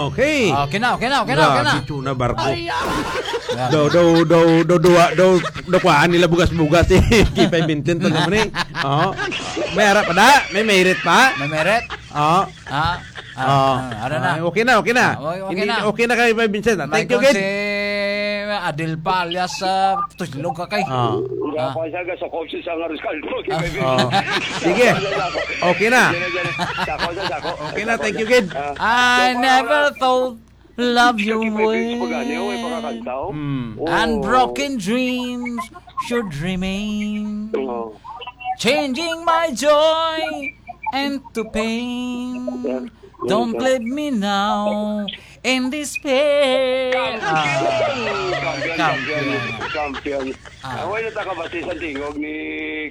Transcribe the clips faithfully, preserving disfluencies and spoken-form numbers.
Okay. Okay na, okay na, okay na, okay na. Grabe, tuna barko. Ay, ah. Daw, daw, daw, daw, duwa, daw, daw, kuhaan nila bugas-bugas, eh. Kipay Vincent, ano naman, eh? Oo. May ara pa da? May merit pa? May merit? Oo. Ah, ah, Oo. ah, ano na? Ah, okay na, okay na. Ah, okay, okay Hindi, na. okay na kay Kipay Vincent, ah. Thank you, Michael, kid. si Adil pa, alias, ah, Tuslog ka kay. Ah. Nga Ah. pa siya, ga sa kotse sa nga Rizal po, kay Ah, Baby. oh. Sige. Sako, sako. Okay na. Sige, sige. Sako, sako, sako. Okay na, Sako, thank you, sako. kid. Ah. I So, para never na- thought love your Sige, Baby, way. Pagani, oh, may pangakanta, oh. Mm. Oh. And broken dreams should remain. Oh. Changing my joy and to pain. Yeah. Don't leave me now in despair. Ah, Champion, champion. champion. Champion. Ah. Ah, wala ta kabati sa tingog ni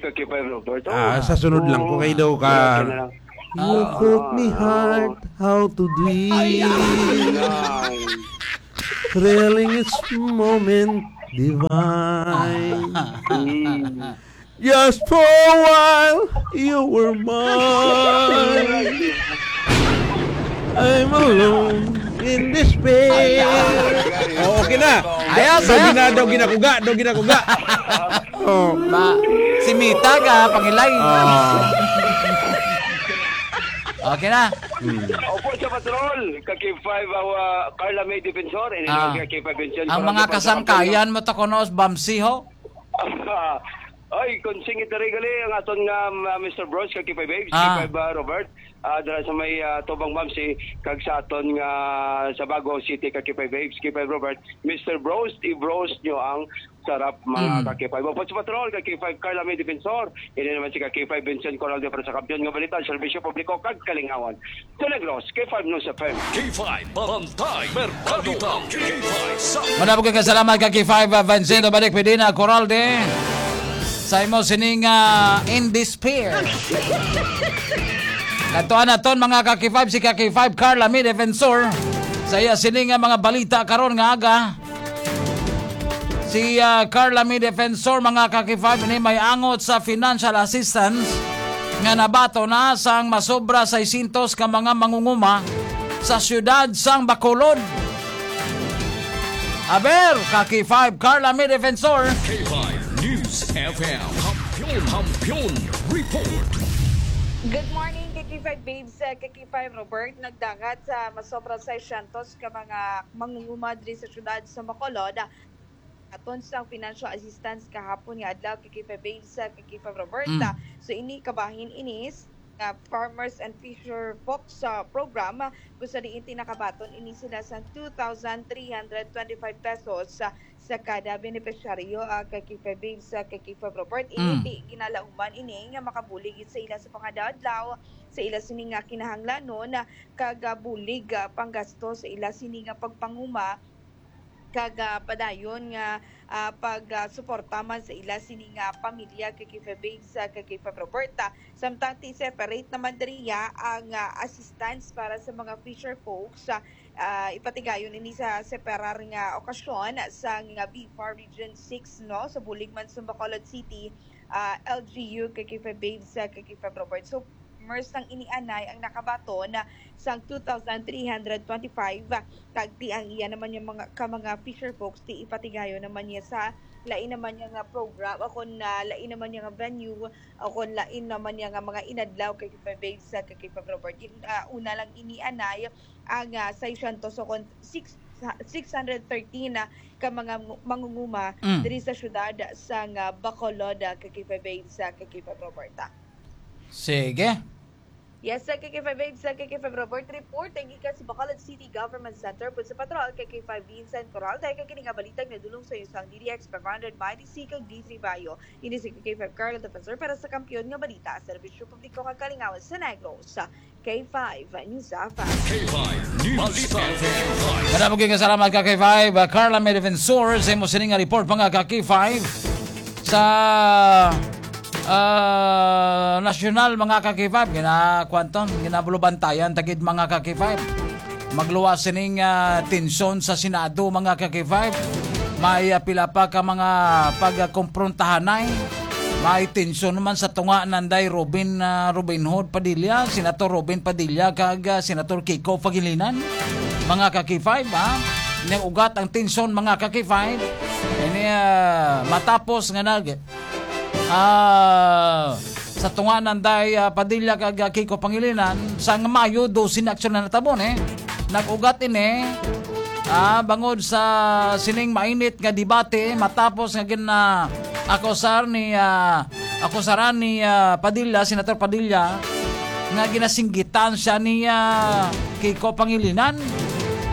Kakipay Robert. Oh. Ah, sa sunod lang ko kay daw ka. Okay na lang. You Ah. taught me, heart, how to dream. Ay, ay. Thrilling its moment divine. Mm. Just for a while, you were mine. I'm alone in despair. Oh, okay na. Ayos, Daw ayos. gina-, daw ginakuga, daw ginakuga. Oh. Ma, si Mita ka, pangilay. Oh. Okay na. Hmm. Opo, sa patrol, ka K five, uh, Carla May Defensor, and Ah. ka K five Vincent Ang Corral mga Defensor, kasangkayan mo to, kuno, Bamsi, ho? Ay, kung singit na rin gali ang aton nga, um, uh, Mister Bros, ka K five Babes, Ah. K five, uh, Robert, uh, dala sa may, uh, Tubang Bamsi, kag sa aton nga sa Bago City, ka K five Babes, K five Robert, Mister Bros, i-bros nyo ang sarap, mga Mm. ka K five. Opo, sa patrol, ka K five Carla May Defensor, ini naman si ka K five Vincent Corral de para sa kampiyon nga balita, serbisyo publiko, kag kalingawan. Sa Negros, K five News F M. K five, Bantay Merkado. K five sa Manabog ka salamat ka K five, uh, Vincent, balik pwede na, Coralde. Sa imo sining, uh, in despair. Katuan naton, mga ka K five, si ka K five, Carla May Defensor. Sa iya sining, uh, mga balita karon nga aga. Si, ah, Carla May Defensor, mga ka-K five, ni may angot sa financial assistance nga nabaton na sang masobra seiscientos ka mga mangunguma sa siyudad sang Bacolod. Aber, ka-K five, Carla May Defensor. K five News F M. Kampiyon, kampiyon report. Good morning, ka-K five Babes, ka-K five Robert. Nagdangat sa masobra seiscientos ka mga mangunguma diri sa siyudad sa Bacolod. Aton sang financial assistance kahapon nga adlaw, ka-K five Babes, ka-K five Roberta. Mm. So, ini kabahin ini s-, nga Farmers and Fisher Folks, ah, program, ah, kung sa diin ti nakabaton ini sila sang two thousand three hundred twenty-five pesos, ah, sa kada benepisyaryo, ah, ka-K five Babes, ka-K five Robert. Ini Mm. ti ginalauman ini nga makabulig sa ila sa pangadaw-adlaw, sa ila sini nga kinahanglanon, ah, kag, ah, bulig, ah, panggasto sa ila sini nga pagpanguma, kag, ah, padayon nga, ah, pag, ah, suporta man sa ila sini nga pamilya, ka-K five Babes, ah, ka-K five Roberta. Samtang ti separate naman diriya ang, ah, assistance para sa mga fisher folks, ah, ah, ipatigayon ini sa separar nga okasyon sa nga B far Region six, no, sa bulig man sa Bacolod City, ah, L G U, ka-K five Babes, ah, ka-K five Robert. So, Mers nang ini anay ang nakabaton sang two thousand three hundred twenty-five, kag ti ang iya naman yung mga, ka mga fisher folks, ti ipatigayon naman niya sa lain naman niya nga program, o kon, ah, lain naman niya nga venue, o kon lain naman niya nga mga inadlaw, ka-K five Babes, ka-K five Robert. Yung, ah, una lang ini anay ang, ah, seiscientos o kon six, six hundred thirteen na ka mga ngu-, mangunguma Mm. diri sa syudad sa nga Bacolod, ka-K five Babes, ka-K five Roberta. Sige. Yes, sa ka-K five Babes, sa ka-K five Robert report, ang gikan sa Bacolod City Government Center, pud sa patrol, ka-K five Vincent Corral, dahil kay kini nga balita nga dulong sa iyo sa D D X five hundred, Mighty C, kag D three Bayo. Ini si ka-K five Carl Defensor para sa Kampiyon nga Balita, Serbisyo Publiko kag Kalingawan sa Negros, K five News F M. K five News Balita. Madamo gyud nga salamat ka K five, uh, Carla May Defensor, sa imo sining nga report, mga ka K five. Sa, ah, nasyonal, mga ka K five, gina-, kwanton, ginabulubantayan tagid, mga ka K five. Magluwas sining, ah, tensyon sa Senado, mga ka K five. May, ah, pila pa ka mga pagkomprontahanay. May tensyon naman sa tunga nanday Robin, ah, Robin Hood Padilla, Senator Robin Padilla, kag, ah, Senator Kiko Pangilinan. Mga ka-K five, ha? Nag-ugat ang tensyon, mga ka-K five. Ini, ah, matapos nga nag, ah, sa tunga nanday, ah, Padilla kag, ah, Kiko Pangilinan, sa Mayo dose na aksyon na natabo, eh. Nag-ugat ini, ah, bangod sa sining mainit nga debate matapos nga gina-, akusar ni, ah, akusaran ni, ah, Padilla, Senator Padilla, nga ginasinggitan siya ni, ah, Kiko Pangilinan,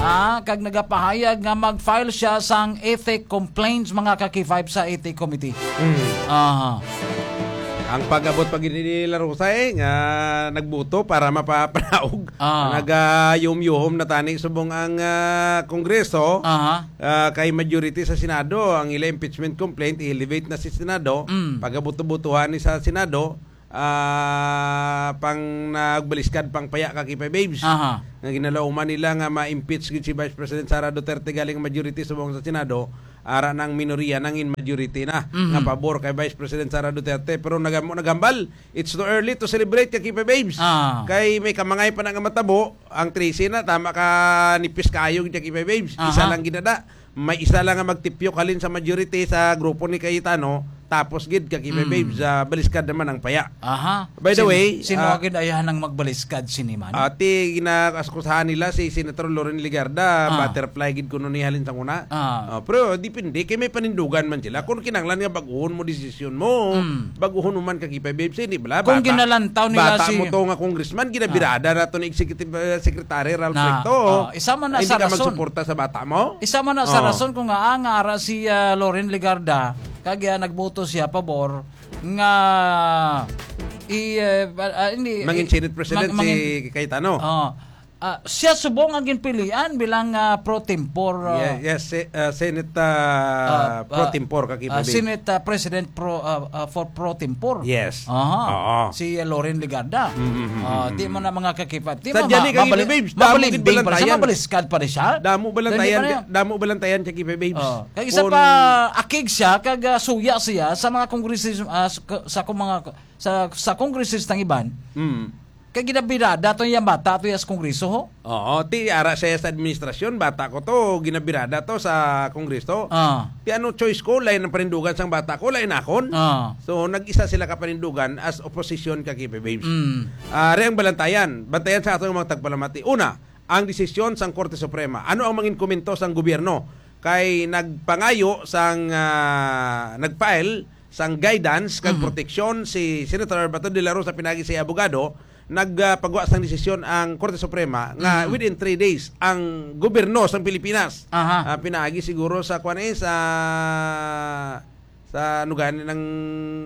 ah, kag nagapahayag nga mag-file siya sang ethic complaints, mga ka-K five, sa ethic committee. Mm. Aha. Ang pag-abot pa gid ni La Rosa, eh, nga nagbuto para mapapanaog. Ah. Nagayuhom-yuhom na tani subong ang, ah, Kongreso, Aha. ah, kay majority sa Senado ang ila impeachment complaint, i-elevate na si Senado. Mm. Pag-abuto-butuhan ni sa Senado, ah, pang nagbaliskad pang paya ka, K five Babes. Aha. Nga ginalauman nila nga ma-impeach gid si Vice President Sara Duterte galing majority subong sa Senado, ara nang minorya nangin majority na Mhm. nga pabor kay Vice President Sara Duterte. Pero nagamo naghambal, it's too early to celebrate, ka K five Babes. Ah. Kay may kamangay pa na nga matabo, ang trese na, tama ka nipis kayo, ka K five Babes. Isa Aha. lang ginada. May isa lang nga magtipyok halin sa majority sa grupo ni Cayetano, tapos gid, ka K five Mm. Babes, ah, baliskad naman ang paya. Aha. By the Sin-, way, sino ah, agad ayahan ang magbaliskad sini man? Ati, ginaaskusahan nila si Senator Loren Legarda, Ah. butterfly gid kuno ni halin sa una. Ah. Ah, pero depende, kay may panindugan man sila. Kung kinahanglan nga baguhon mo desisyon mo, Mm. baguhon mo man, ka K five Babes, hindi bala? Kung Bata, ginalantaw nila bata si mo to nga congressman, ginabirada na to ni Executive, eh, Secretary Ralph Na, Recto. ah, isa man na Ay, sa hindi ka rason. magsuporta sa bata mo? Isa man na sa Oh. rason kung nga, ah, nga ara si, ah, Loren Legarda, kag, ah, nagboto siya pabor nga i, eh, ah, ah, hindi, Mangin i-, Senate President mang-, si mangin-, Cayetano. Oh. Ah, siya subong ang ginpilian bilang, ah, pro tempore, ah, Ye-, yes, se-, ah, Senate, ah, ah, pro ah, tempore, ka K five ah, Babes. Senate, ah, President pro, ah, ah, for pro tempore. Yes. Aha. Oo. Si, ah, Loren Legarda. Mm, mm, mm, Ah, mm, di mo mm. na mga ka K five. Di Sa mo dyan ma-, eh, ka K five mabali-, Babes, damo mabalimbing gid pa rin siya, balantayan. mabaliskad pa rin siya. Damo balantayan, Dali pa rin. damo balantayan sa K five Babes. Oh. Kag isa Kung pa, akig siya, kag, ah, suya siya sa mga kongresis-, ah, sa, sa kung mga, sa, sa kongresistang iban, Mm. Kay ginabirada to yang bata to ya sa Kongreso, ho? Oo, ti ara siya sa administrasyon, bata ko to, ginabirada to sa Kongreso. Ah. Ti ano choice ko, lain ang panindugan sang bata ko, lain akon. Ah. So, nag-isa sila ka panindugan as opposition, ka K P Babes. Mm. Ah, ari ang balantayan. Bantayan sa aton mga tagpalamati. Una, ang desisyon sang Korte Suprema. Ano ang mangin komento sang gobyerno? Kay nagpangayo sang, ah, nag-file sang guidance kag Mhm. proteksyon si Senator Bato de la Rosa pinaagi sa iya abogado, nagpagwa sang desisyon ang Korte Suprema nga Mhm. within three days ang gobyerno sang Pilipinas. Aha. Ah, pinaagi siguro sa kuwan, eh, sa, sa ano gani ng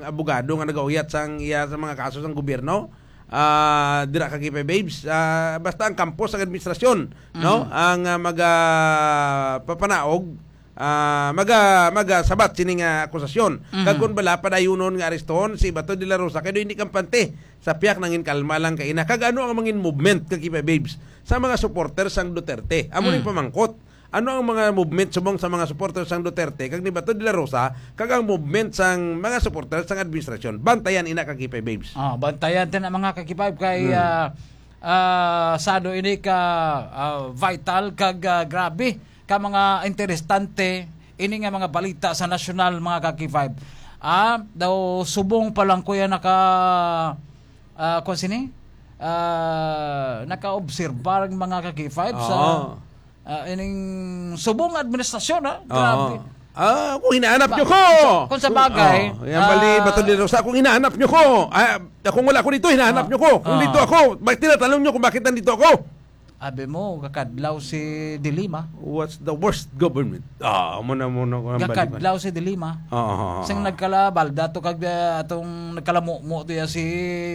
abogado nga nagauyat sang iya sa mga kaso sang gobyerno. Ah, dira ka K P Babes. Ah, basta ang kampo sang administrasyon, no? Mhm. Ang, ah, maga-, papanaog, ah, maga-, magasabat sini nga akusasyon. Mhm. Kag kun bala padayunon nga arestohon si Bato de la Rosa kay daw hindi kampante sa piyak nangin kalma lang kaina. Kag ano ang mangin movement, ka K P Babes, sa mga supporter sang Duterte? Amo ning Mm. pamangkot. Ano ang mga movement subong sa mga supporter sang Duterte kag ni Bato de la Rosa kag ang movement sang mga supporter sang administrasyon? Bantayan ina, ka K P Babes. Ah, bantayan din ang mga ka K P Babes kay, Hmm. ah, ah, sado ini ka, ah, vital kag, ah, grabe ka mga interesante ini nga mga balita sa nasyonal, mga ka K P Babes. Ah, daw subong pa lang kuya naka, ah, kung sini? Ah, naka-obserbar ang mga ka K P Babes sa Oo. Ah, ining subong administrasyon, ha? Oo. Grabe. Ah, kung hinahanap Ba-, nyo ko! kung sa, kung sa bagay, Oo. Yan bali, ah, Bato de la Rosa, kung hinahanap nyo ko! Ah, kung wala ko dito, hinahanap Ah. nyo ko! Kung Ah. dito ako, bakit tinatanong nyo kung bakit nandito ako? Abi mo, kakadlaw si De Lima. What's the worst government? Ah, muna, muna ko ang balikan. Kakadlaw si De Lima. Oo, oo, oo. Sing nagkalabal, dato kag, ah, atong nagkalamumo to ya si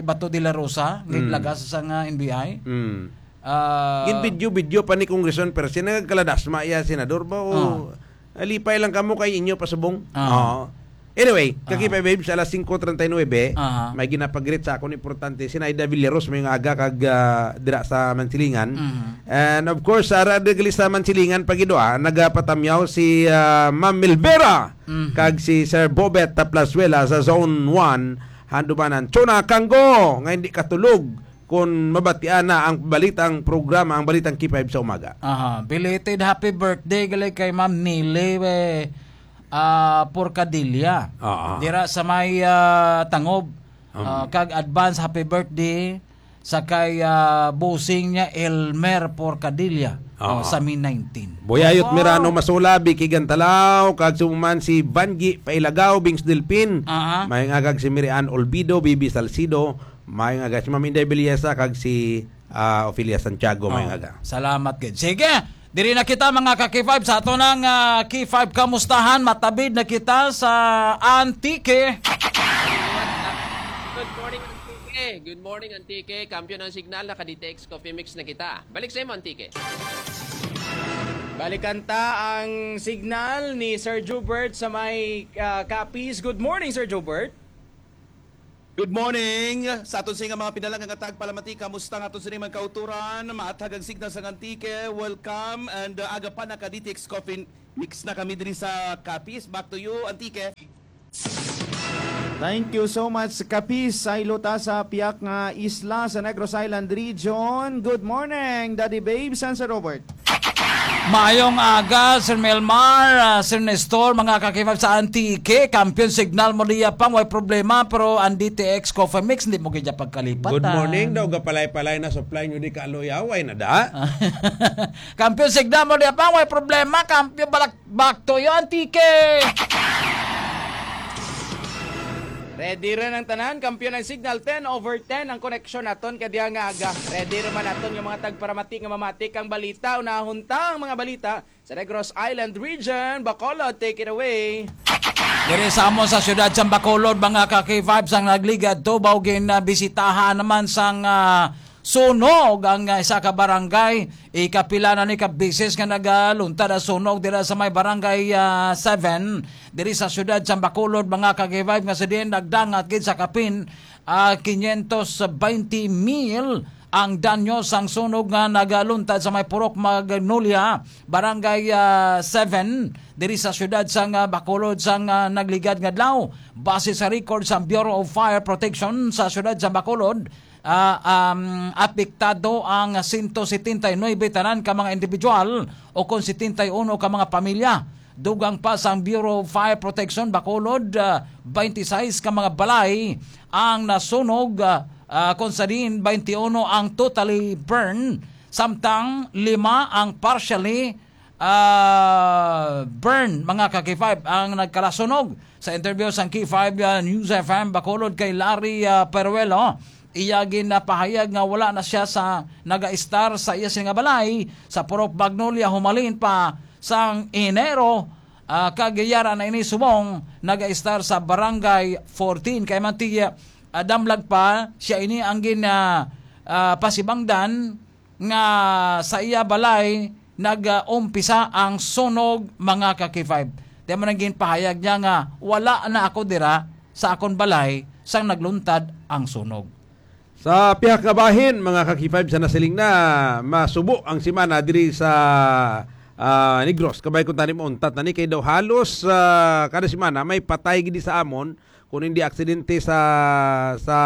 Bato de la Rosa, Mm. naglagas sa nga N B I. Mm. Ah, Gin video-video pa ni Congressman Percy, nagkaladasma iya senador ba o Ah. alipay lang kamo kay inyo pasubong? Ah. Oo. Anyway, Kaki Aha. Five Babes, alas singko treinta y nueve, Aha. may ginapagreet sa akon importante, si Naida Villaros, may nga aga kag, ah, dira sa Mansilingan. Mhm. And of course, ara gali sa Mansilingan, pagidua, nagapatamyaw si, ah, Ma'am Milvera Mhm. kag si Sir Bobet Taplasuela sa Zone one, Handumanan. Chona Kanggo, nga hindi katulog kun mabatian na ang balitang programa, ang balitang K five sa umaga. Aha, belated happy birthday gali kay Ma'am Nili, eh, ah, Porcadilla. Oo. Dira sa may, ah, Tangob. Um. Ah, kag advance happy birthday sa kay, ah, bossing niya, Elmer Porcadilla. Oo. Oh, sa May nineteen. Buyayot Wow. Mirano Masula, Vicky Gantalaw, kag suman si Vangi Pailagaw, Bings Delpin. Aha. May nga kag si Mirian Olvido, Bibi Salcido, may nga kag si Ma'am Inday Belleza, kag si, ah, Ofelia Santiago, may Oh, nga kag. salamat gid. Sige, diri na kita, mga ka-K five, sa ato nang, ah, K five Kamustahan. Matabid na kita sa Antique. Good morning, Antique. Good morning, Antique. Kampiyon ang signal, naka-D T X Coffee Mix na kita. Balik sa imo, Antique. Balikan ta ang signal ni Sir Jubert sa may, ah, Capiz. Good morning, Sir Jubert. Good morning. Sa aton sa mga pinalang nga tagpalamati, kamusta nga aton sa mga kauturan? Maathag ang signal sa Antique. Welcome. And, uh, aga pa, naka-D T X Coffee Mix na kami diri sa Capiz. Back to you, Antique. Thank you so much, Capiz. Saylo ta sa piyak nga isla sa Negros Island Region. Good morning, Daddy Babes and Sir Robert. Maayong aga, Sir Melmar, ah, Sir Nestor, mga ka-K five sa Antique. Kampiyon signal mo diya pang, way problema, pero ang D T X Coffee Mix, hindi mo kaya pagkalipat, Good ah. morning daw, gapalay-palay na supply nyo di ka aloy, away na da. Kampiyon signal mo diya pang, way problema, kampiyon balak, back to you, Antique. Ready rin ang tanan, kampiyon ang signal, ten over ten ang koneksyon naton kay diya nga aga. Ready ra man naton nga mga tagparamati nga mamati kang balita, unahon ta ang mga balita sa Negros Island Region. Bacolod, take it away. Diri sa amon sa siyudad sang Bacolod, mga ka-K five, sang nagligad tubaw, ginabisitahan naman sang, ah, sunog ang, ah, isa ka barangay. Ikapila na ni ka beses nga nagaluntad ang sunog dira sa may barangay, ah, seven, diri sa siyudad sang Bacolod, mga ka-K five, nga sa diin nagdangat gid sa kapin, ah, quinientos veinte mil ang danyo sang sunog nga nagaluntad sa may Purok Magnolia, Barangay, ah, seven, diri sa siyudad sang, ah, Bacolod sang, ah, nagligad nga adlaw. Base sa record sa Bureau of Fire Protection sa siyudad sa Bacolod, ah, um, apektado ang sento setenta y nuebe tanan ka mga individual o kon setenta y uno ka mga pamilya. Dugang pa sang Bureau of Fire Protection Bacolod, ah, twenty-six ka mga balay ang nasunog, ah, ah, kung sa diin twenty-uno ang totally burn, samtang lima ang partially, ah, burn, mga ka-K five, ang nagkalasunog. Sa interview sang K five, ah, News F M Bacolod kay Larry, ah, Peruelo, iya ginapahayag nga wala na siya sa naga-estar sa iya sini nga balay sa Purok Magnolia humalin pa sang Enero, ah, kag yara na ini subong naga-estar sa Barangay fourteen. Kay man ti, ah, damlag pa siya ini ang gin, ah, ah, pasibangdan nga sa iya balay nag-umpisa ang sunog, mga ka-K five. Di man ang ginpahayag niya nga, "Wala na ako dira sa akon balay sang nagluntad ang sunog." Sa pihak nga bahin, mga ka-K five, sa nasiling na, masubo ang semana diri sa, ah, Negros. Kabay kung tani mauntat na ni, kay daw halos, ah, kada semana may patay gid sa amon kung hindi aksidente sa, sa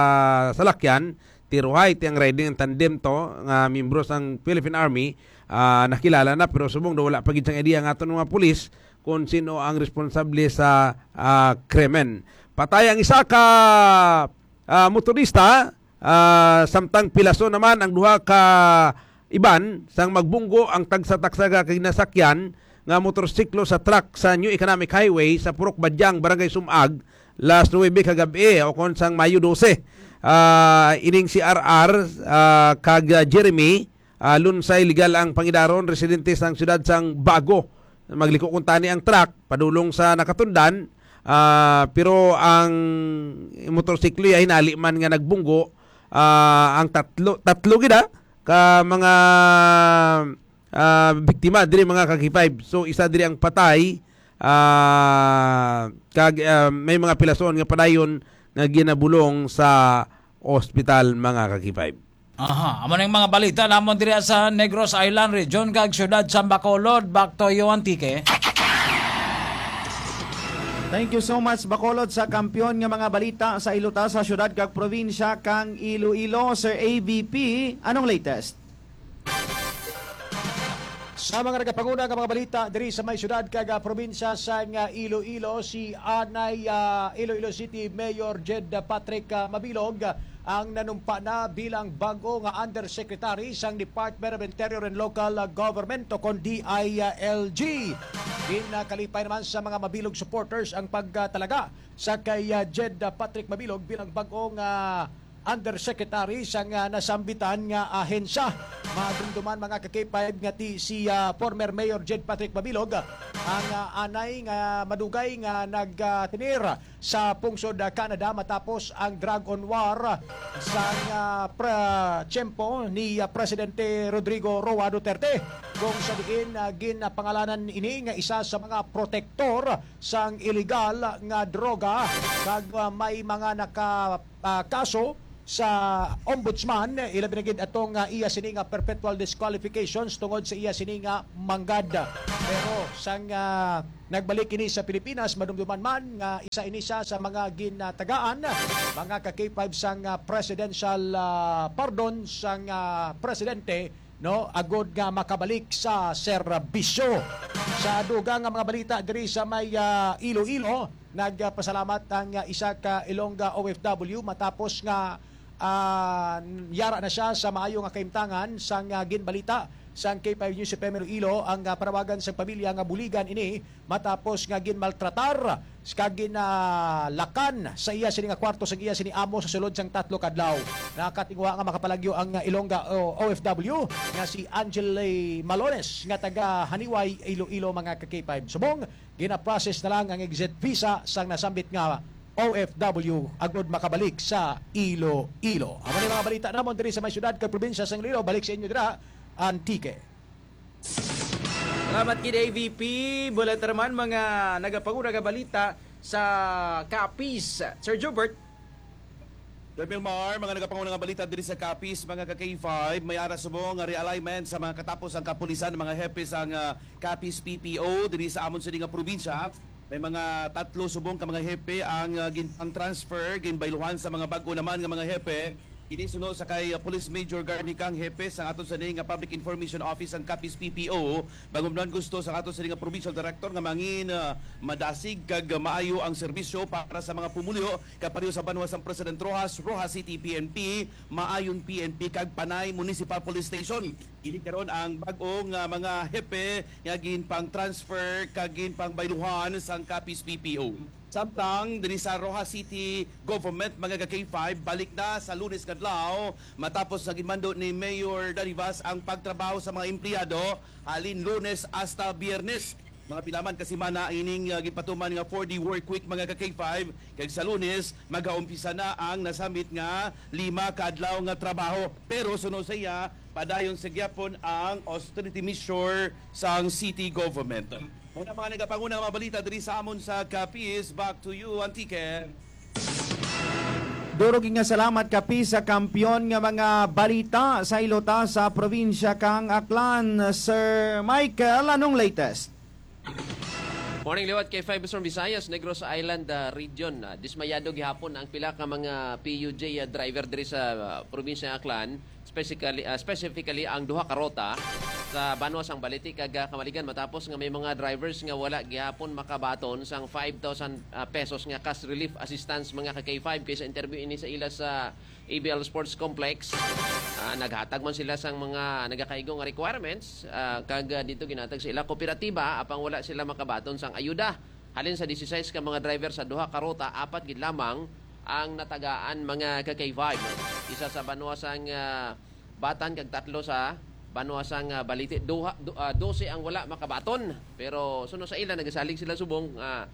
salakyan, tiruhay, ti ang riding ang tandem to, nga miyembro sang Philippine Army, ah, nakilala na, pero subong daw wala pa gid sang idea ang aton mga pulis kung sino ang responsable sa, ah, krimen. Patay ang isa ka, ah, motorista, ah, samtang pilason naman ang duha ka iban sang magbunggo ang tagsa-tagsa ka kinasakyan nga motorsiklo sa truck sa New Economic Highway sa Purok Badyang, Barangay Sumag, las nuebe kagab-i, o kon sang Mayo dose. Ah, ining si R R, ah, kag, ah, Jeremy, ah, Lunsay, legal ang pangidaron, residente sang siyudad sang Bago. Magliko kuntani ang truck padulong sa Nakatundan, ah, pero ang motorsiklo ya hinali man nga nagbunggo, ah, ang tatlo, tatlo gid, ah, ka mga, ah, biktima diri, mga ka-K five. So, isa diri ang patay, Ah, kag, ah, may mga pilason nga padayon nga ginabulong sa ospital, mga ka-K five. Aha, amo na yung mga balita namon diri sa Negros Island Region kag siyudad sa Bacolod. Back to you, Antique. Thank you so much, Bacolod, sa kampiyon nga mga balita sa iluta sa siyudad kag probinsya kang Iloilo. Sir A V P, anong latest? Sa mga nagapanguna nga mga balita diri sa may siyudad kag, ah, probinsya sang, ah, Iloilo, si anay, ah, Iloilo City Mayor Jed Patrick, ah, Mabilog, ah, ang nanumpa na bilang bag-o nga undersecretary sang Department of Interior and Local, ah, Government o kon D I L G. Ginakalipay naman sa mga Mabilog supporters ang pagtalaga sa kay, ah, Jed, ah, Patrick Mabilog bilang bag-o nga undersecretary sang, ah, nasambitan nga ahensya. Madumduman, mga ka-K five, nga ti si, ah, former Mayor Jed Patrick Mabilog, ah, ang, ah, anay nga madugay nga nagtinir sa pungsod, ah, Canada matapos ang drug on war sang, ah, pra-, tiyempo ni, ah, Presidente Rodrigo Roa Duterte, kung sa diin, ah, ginapangalanan ini nga isa sa mga protektor sang iligal nga droga, kag, ah, may mga naka, ah, kaso sa ombudsman, ilabi na gid atong, ah, iya sini nga perpetual disqualifications tungod sa iya sini nga manggad. Pero sang, ah, nagbalik ini sa Pilipinas, madumduman man nga isa ini siya sa mga ginatagaan, mga ka-K five, sang, ah, presidential, ah, pardon sang, ah, presidente, no, agod nga makabalik sa serbisyo. Sa dugang nga mga balita diri sa may, ah, Iloilo, nagpasalamat ang, ah, isa ka Ilongga O F W matapos nga, ah, yara na siya sa maayo nga kahimtangan. Sang, ah, ginbalita sang K five News F M Iloilo, ang, ah, panawagan sang pamilya nga buligan ini matapos nga ginmaltratar kag ginalakan sa iya sini nga kwarto sang iya sini amo sa sulod sang tatlo ka adlaw. Nakatinguha nga makapalagyo ang, ah, Ilongga O F W nga si Angeli Malones nga taga Haniway, Iloilo, mga ka-K five. Subong, gina-process na lang ang exit visa sang nasambit nga O F W agud makabalik sa Iloilo. Amo ni mga balita namon diri sa may syudad kag probinsya sang Iloilo. Balik sa inyo dira, Antique. Salamat gid, A V P. Mula ta naman mga nagapanguna nga balita sa Capiz. Sir Jubert. Sir Milmar, mga nagapanguna nga balita diri sa Capiz, mga ka-K five, may ara subong nga realignment sa mga katapos ang kapulisan, mga hepe sang, ah, Capiz P P O diri sa amon sini nga probinsya. May mga tatlo subong ka mga hepe ang, ah, gin-, ang transfer, ginbayluhan sa mga bag-o naman nga mga hepe. Ini suno sa kay, ah, Police Major Garnicang, hepe sang aton sini nga Public Information Office ang Capiz P P O. Bangumnon gusto sa aton sini nga provincial director nga mangin, ah, madasig kag maayo ang serbisyo para sa mga pumuluyo, kapareho sa banwa sang President Roxas, Roxas City P N P, Maayon P N P kag Panay Municipal Police Station. Ini karon ang bag-o nga mga hepe nga ginpang-transfer kag ginpangbayluhan sang Capiz P P O. Samtang diri sa Roxas City Government, mga ka-K five, balik na sa Lunes nga adlaw matapos nga ginmando ni Mayor Darivas ang pagtrabaho sa mga empleyado halin Lunes hasta Biyernes. Mga pila man ka semana ining, ah, ginpatuman nga four-day work week, mga ka-K five, kag sa Lunes magaumpisa na ang nasambit nga lima ka adlaw nga trabaho. Pero suno sa iya, padayon sa gyapon ang austerity measure sang city government. Muna mga nagapanguna nga mga balita diri sa amon sa Capiz. Back to you, Antique. Duro gid nga salamat, Capiz, sa kampiyon nga mga balita sa iluta sa probinsya kang Aklan. Sir Michael, anong latest? Morning, liwat K five Western Visayas, Negros Island, ah, region. Ah, dismayado gihapon ang pila ka mga P U J, ah, driver diri sa, ah, probinsya ng Aklan, specifically, ah, specifically ang duha ka rota sa banwa sang Balite kag, ah, Camaligan, matapos nga may mga drivers nga wala gihapon makabaton sang five thousand, ah, pesos nga cash relief assistance, mga ka-K five, kay sa interview ini sa ila sa A B L Sports Complex. Ah, naghatag man sila sang mga nagakaigo nga requirements, ah, kag, ah, dito ginhatag sa ila kooperatiba, apang wala sila makabaton sang ayuda. Halin sa disisais ka mga driver sa duha ka ruta, apat gid lamang ang natagaan, mga ka-K five. Isa sa banwa sang, ah, Batan kag tatlo sa banwa sang, ah, Balite. Duha, du-, ah, dose ang wala makabaton. Pero suno sa ila, nagasalig sila subong, ah,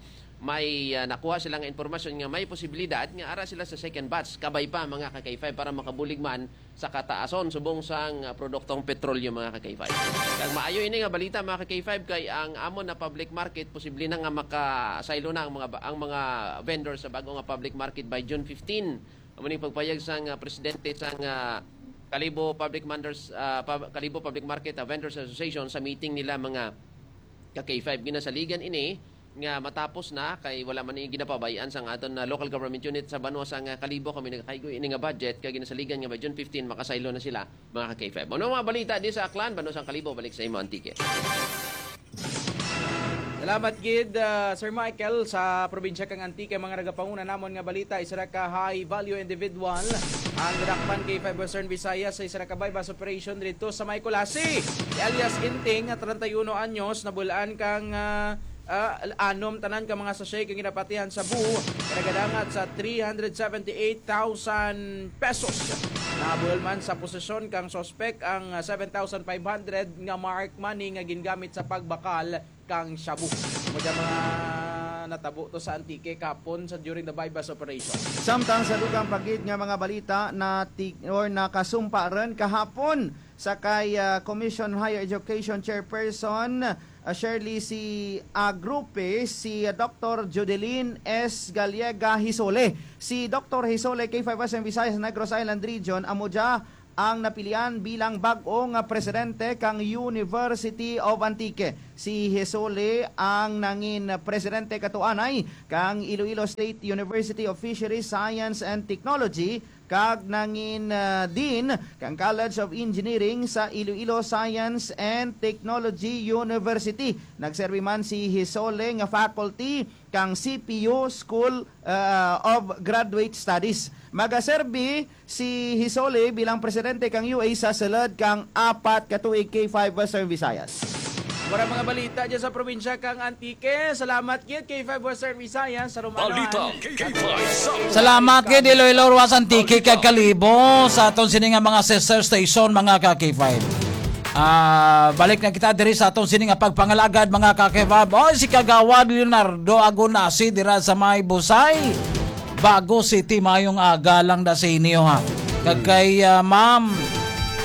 may, ah, nakuha sila nga impormasyon nga may posibilidad nga ara sila sa second batch, kabay pa, mga ka-K five, para makabulig man sa kataason subong sang, ah, produktong petrolyo, mga ka-K five. Kag maayo ini nga balita, mga ka-K five, kay ang amon na public market posible na nga makasaylo na ang mga ba-, ang mga vendors sa bag-o nga public market by June fifteen. Amo ning pagpayag sang, ah, presidente sang, ah, Kalibo Public Manders-, ah, Pub-, Kalibo Public Market, ah, Vendors Association sa meeting nila, mga ka-K five. Ginasaligan ini nga matapos na, kay wala man ini ginapabay-an sang aton na local government unit sa banwa sang, ah, Kalibo. Kami nagakaigo ini nga budget, kay ginasaligan nga by June fifteen makasaylo na sila, mga ka-K five. Ano mga balita di sa Aklan, banwa sang Kalibo? Balik sa imo, Antique. Salamat gid, ah, Sir Michael. Sa probinsya kang Antique, mga nagapanguna namon nga balita, isa ra ka high value individual ang nadakpan kay Five Western Visayas sa isa ra ka buy-bust operation didto sa may Culasi. Si alias Inting, nga treinta y uno anyos, nabulaan kang, ah, ah, anom tanan ka mga sachet kang ginapatihan sa buho, nga nagadangat sa three hundred seventy-eight thousand pesos. Nabul man sa posesyon kang suspek ang, ah, seven thousand five hundred nga marked money nga gingamit sa pagbakal kang shabu. Amo dyan mga natabo to sa Antique kapon sa, during the buy-bust operation. Samtang sa dugang pa gid nga mga balita, na ti-, or nakasumpa rin kahapon sa kay, ah, Commission on Higher Education Chairperson, ah, Shirley C. Agrupe, si, ah, Doctor Judeline S. Gallega Hisole. Si Doctor Hisole, K five Western Visayas, Negros Island Region, amo dya ang napilian bilang bag-o nga presidente kang University of Antique. Si Hisole ang nangin presidente katuanay kang Iloilo State University of Fisheries Science and Technology, kag nangin, ah, dean kang College of Engineering sa Iloilo Science and Technology University. Nagserbi man si Hisole nga faculty kang C P U School, ah, of Graduate Studies. Magaserbi si Hisole bilang presidente kang U A sa sulod kang apat ka tuig, K five Western Visayas. Wala mga balita dyan sa probinsya kang Antique. Salamat gid, K five Western Visayas, sa Romanoan. Balita K five sa Salamat gid, Iloilo, Roxas, Antique, kag Kalibo, sa aton sini nga mga sister station, mga ka K five. Ah, balik na kita diri sa aton sini nga pagpangalagad, mga ka K five. Oy, si Kagawad Leonardo Agonasi dira sa may Busay, Bago City. Mayong aga lang da sa inyo, ha. Kag kay, ah, Ma'am,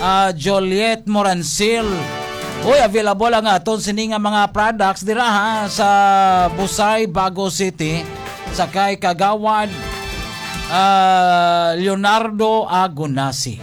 ah, Juliet Moransil. Uy, available ang aton sini nga mga products dira, ha, sa Busay, Bago City, sa kay Kagawad, ah, Leonardo Agonasi.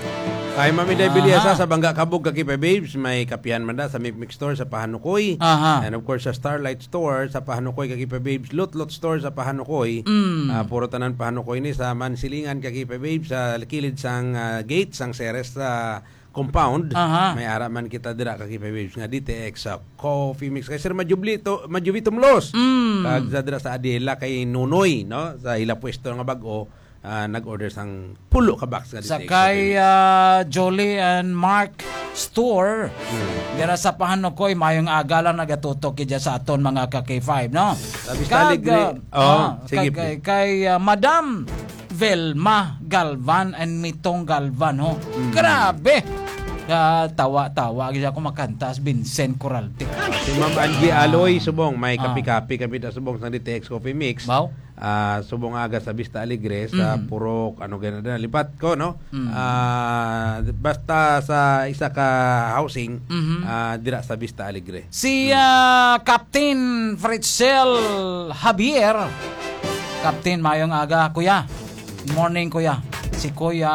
Kay Ma'am Inday Aha. Biliasa sa Bangga Kabog, ka K five Babes, may kapihan man da sa Mix Mix Store sa Pahanukoy. Aha. And of course, sa Starlight Store sa Pahanukoy, ka K five Babes, Lot Lot Store sa Pahanukoy. Mm. Ah, puro tanan Pahanukoy ni sa Mansilingan, ka K five Babes, sa kilid sang, ah, gate sang Ceres sa compound. Aha. May ara man kita dira, ka K five Babes, nga D T X sa Coffee Mix. Kay Sir Majubli to, Majubi Tumlos. Mm. Kag sa dira sa Adela kay Nunoy, no? Sa ila pwesto nga bag-o, ah, nag-order sang pulo ka box nga Sa D T X kay, Coffee Mix. Ah, Jolie and Mark Store, Hmm. dira sa Pahanukoy, mayong aga lang nagatutok kidya sa aton mga ka K five, no? Sa Vista Kag, Alegre. ah, Oh, ah, sige, kag, please. kay, kay, ah, Madam Velma Galvan and Mitong Galvan, ho. Mm. Grabe! Ah, tawa-tawa, gid ako makanta as Vincent Coraltic. Si Ma'am Angie Ah. Aloy, subong, may Ah. kapi-kapi kami na subong sa D T X Coffee Mix. Baw? Ah, subong aga sa Vista Alegre, sa Mhm. Purok, ano gani na, lipat ko, no? Mm. Ah, basta sa isa ka housing, Mhm. ah, dira sa Vista Alegre. Si, Mm. ah, Captain Fritzel Javier. Captain, mayong aga, kuya. Morning, kuya. Si Kuya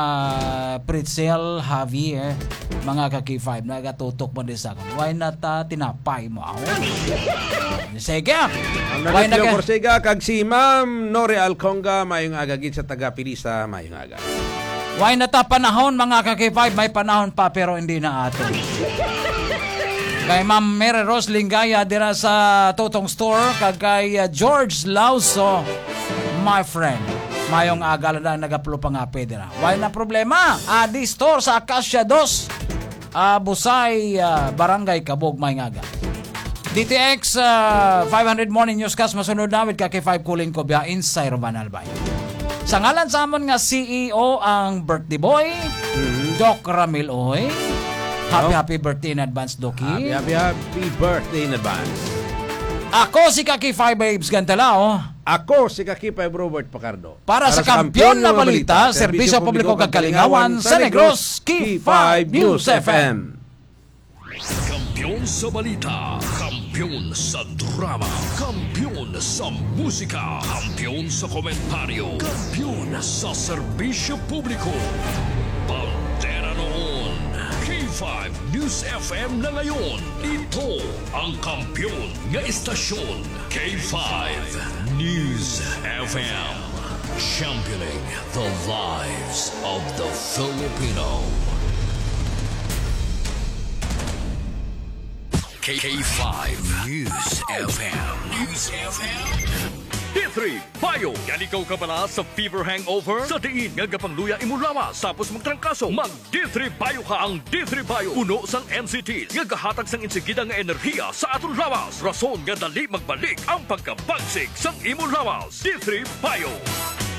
Fritzel Javier, mga ka K five, nagatutok mo din sa akon. Why not, ah, tinapay mo ako? Sige. Ang Why Nanatlo not, Corsiga kag si Ma'am Nore Alconga, mayong aga gid sa taga Pilisa, mayong aga. Why na ta panahon, mga ka K five? May panahon pa, pero hindi na ato. Kay Ma'am Mary Rose Lingaya dira sa Totong Store, kag kay, uh, George Lauso, my friend. Mayong aga lang na nagaplo pa nga pwede na. Wala na problema. Adi Store sa Acacia dos, uh, Busay, uh, Barangay Kabog, may ngaga. D T X, ah, five hundred Morning Newscast, masunod na with ka K five Kulin ko biya inside Roman Albay. Sa ngalan sa amon nga C E O ang birthday boy, Mhm. Doc Ramil Uy. Happy, Oh. happy birthday in advance, Doc. Happy, happy, happy birthday in advance. Ako si Kaki five Babes Gantalao. Ako si Kaki five Robert Pacardo. Para sa Kampiyon na Balita, Serbisyo Publiko kag Kalingawan sa Negros, Kaki five News F M. Kampiyon sa balita, kampiyon sa drama, kampiyon sa musika, kampiyon sa komentaryo, kampiyon sa serbisyo publiko. Bandera noon, K five News F M na ngayon. Ito ang kampiyon nga istasyon, K five News F M. Championing the lives of the Filipino. K five News F M. News F M. D three Bio. Yan ikaw kabala sa fever hangover? Sa diin nga gapangluya imo lawas tapos magtrangkaso, mag D three Bio ka. Ang D three Bio puno sang N C T nga gahatag sang insigida nga enerhiya sa aton lawas, rason nga dali magbalik ang pagkabagsik sang imo lawas. D three Bio.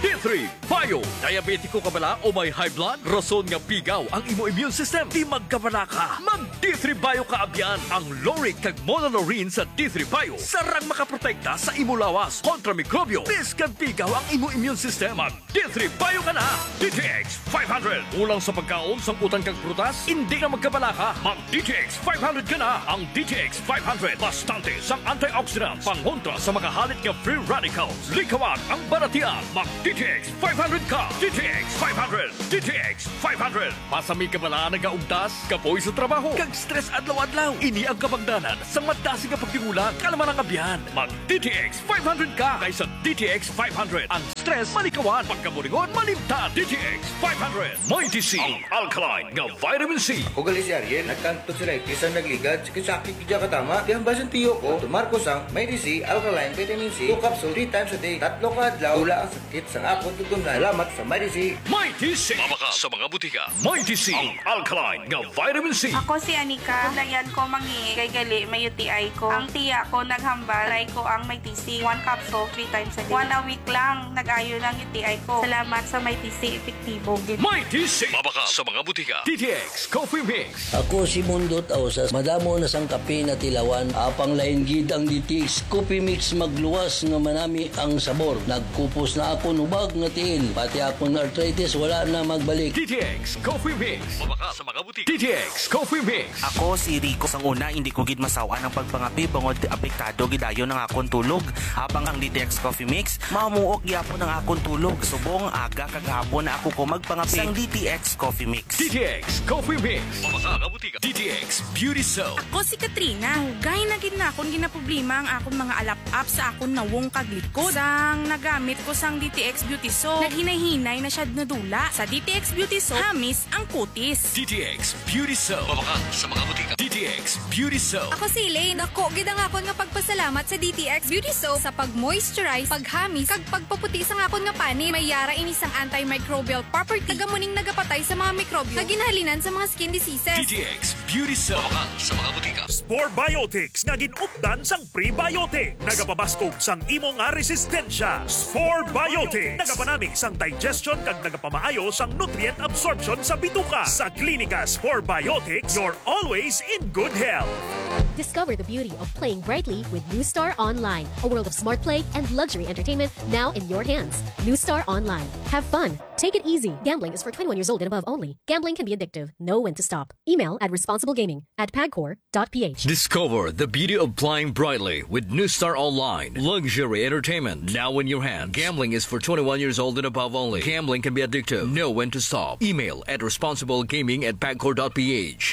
D three Bio. Diabetiko ka bala o may high blood? Rason nga pigaw ang imo immune system, di magkabala ka. Mag D three Bio ka abyan. Ang lauric kag monolaurin sa D three Bio sarang makaprotekta sa imo lawas kontra mikrobyo. Bisan pigaw ang imo immune system, mag D three Bio ka na. D T X five hundred. Kulang sa pagkaon, sangkutan kag prutas, indi na magkabala ka. Mag D T X five hundred ka na. Ang D T X five hundred, bastante sang antioxidants, pangontra sa mga halit nga free radicals. Likawan ang balatian. Mag D T X five hundred ka. D T X five hundred. D T X five hundred. Basta may kabala, nagaugtas, kapoy sa trabaho, kag stress adlaw-adlaw. Ini ang kabangdanan sang madasig nga pagtingula, kalma ng abyan. Mag D T X five hundred ka kaysa D T X five hundred. Ang stress malikawan, pagkaburingon malimtan. D T X five hundred. Mighty C, ang alkaline nga vitamin C. Ako gali si Ariel, nagkang tonsillitis ang nagligad, sakit-sakit gid katama. Di ang basin tiyo ko, tumar ko sang Mighty C alkaline vitamin C, two capsule, three times a day, tatlo ka adlaw, wala ang sakit sang akon tutunlan. Salamat sa Mighty C. Mighty C. Mabakal sa mga butika. Mighty C, ang alkaline nga vitamin C. Ako si Anika. Layan ko mangi kay gali may U T I ko. Ang tiya ko naghambal, try ko ang Mighty C. One capsule, three times a day. One a week lang, nag-ayo na ang U T I ko. Salamat sa Mighty C, epektibo gid. Mighty C. Mabakal sa mga butika. D T X Coffee Mix. Ako si Mundot Ausas. Madamo na sang kape na tilawan. Apang lain gid ang D T X Coffee Mix, magluwas nga manami ang sabor. Nagkupos na akon hubag nga tiil. Pati akon arthritis wala na magbalik. D T X Coffee Mix. Mabakal sa mga butika. D T X Coffee Mix. Ako si Rico. Sang una, hindi ko gid masaw-an ang pagpangape bangod apektado gid dayon ang akon tulog. Apang ang D T X Coffee Mix, mamuok gyapon ang akon tulog. Subong aga kag hapon na ako ko magpangape sang D T X Coffee Mix. D T X Coffee Mix. Mabakal sa mga butika. D T X Beauty Soap. Ako si Katrina. Dugay na gid na akon ginaproblema ang akon mga alap-ap sa akon nawong kag likod. Sang nagamit ko sang D T X Beauty Soap, naghinay-hinay na siya nadula. Sa D T X Beauty Soap, hamis ang kutis. D T X Beauty Soap. Mabakal sa mga butika. D T X Beauty Soap. Ako si Elaine. Dako gid ang akon nga pagpasalamat sa D T X Beauty Soap sa pag-moisturize, paghamis, kag pagpaputi sang akon nga panit. May yara ini sang antimicrobial property, kag amo ning nagapatay sa mga mikrobyo nga ginhalinan sa mga skin diseases. D T X Beauty Soap. Mabakal sa mga butika. Spore Biotics nga gin-updan sang prebiotic. Nagapabaskog sang imo nga resistensya. Spore Biotics. Nagapanami sang digestion kag nagapamaayo sang nutrient absorption sa bituka. Sa Klinika Spore Biotics, you're always in good health. Discover the beauty of playing brightly with New Star Online, a world of smart play and luxury entertainment now in your hands. New Star Online. Have fun. Take it easy. Gambling is for twenty-one years old and above only. Gambling can be addictive. Know when to stop. Email at responsiblegaming at pagcor dot p h. Discover the beauty of playing brightly with New Star Online. Luxury entertainment now in your hand. Gambling is for twenty-one years old and above only. Gambling can be addictive. Know when to stop. Email at responsiblegaming at pagcor dot p h.